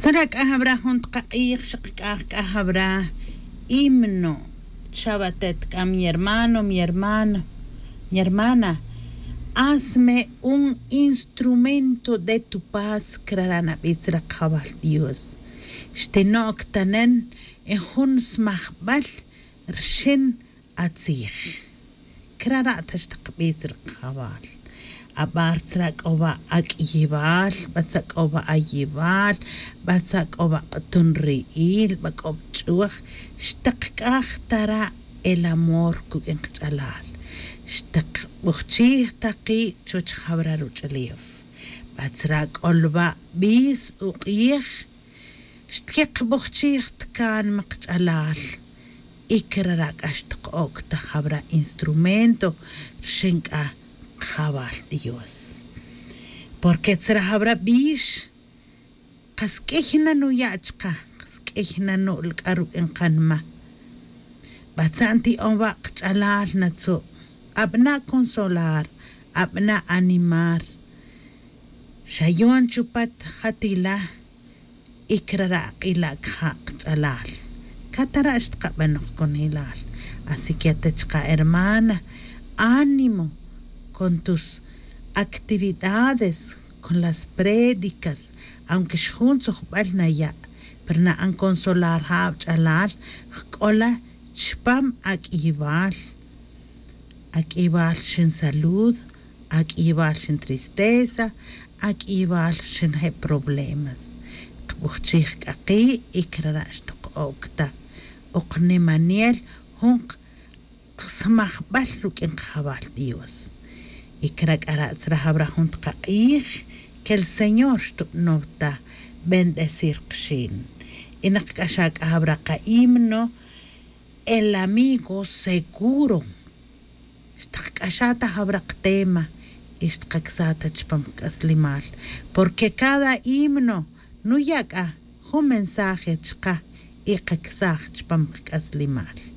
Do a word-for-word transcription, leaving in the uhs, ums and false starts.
Tzara' c'a jawra jun tkak'ij xak c'a c'a jawra himno. Chawa atet c'a mi hermano mi hermano, mi hermana, hazme un instrumento de tu paz. Crara' nabi' tzara' kajawal dios. Xtino'c tanen en jun smajbal rxin atzij. Crara' ta xtakbitz ri kajawal. Abar tzra' c'o wa ac'iyibal, batzra' c'o wa ayibal, batzra' c'o wa k'utun ri'il ba c'o bch'uj. Xtakc'aj ta ra' el amor cuq'uin kach'alal. Xtakbujchij ta ki' chuwech jawra ruch'ulef. Batzra' c'o lwa' bis uk'ij. Xtkeqbujchij tkanma kach'alal. Y crara' c'a xtko'oc ta jawra instrumento rxin c'a kajawal dios. Porque tzra jawra bix kas q'uiy na nuya' chka, kas q'uiy na nu'l c'a ruq'uin kanma. Batza'n ti'on wa' kach'alal natzu'. Abana' consolar, abana' animar. Xayon chupat jatila. Y crara' ak'ila' caja' kach'alal. Catara' xtkabanoj conilal. Así que ate chka hermana, ánimo con tus actividades, con las prédicas. Aunque xjun tzujbal naya', pero na'an consolar ja' awach'alal. Jc'ola chpam ak'iyibal. Ak'iyibal xin salud, ak'iyibal xin tristeza, ak'iyibal xin je' problemas. Kbujchij c'a ki' y crara' xtko'oc ta ok nimanel jun smajbal ruq'uin kajawal dios. Y crac'ara' tzra jawra jun tkak'ij. Que el señor xtubanow ta bendecir kxin. Y nakc'axa c'a jawra kahimno, el amigo seguro. Xtakc'axa ta jawra ktema y xtkacsaj ta chpam kac'aslemal. Porque cada himno nuya' c'a jun mensaje chka y kacsaj chpam kac'aslemal.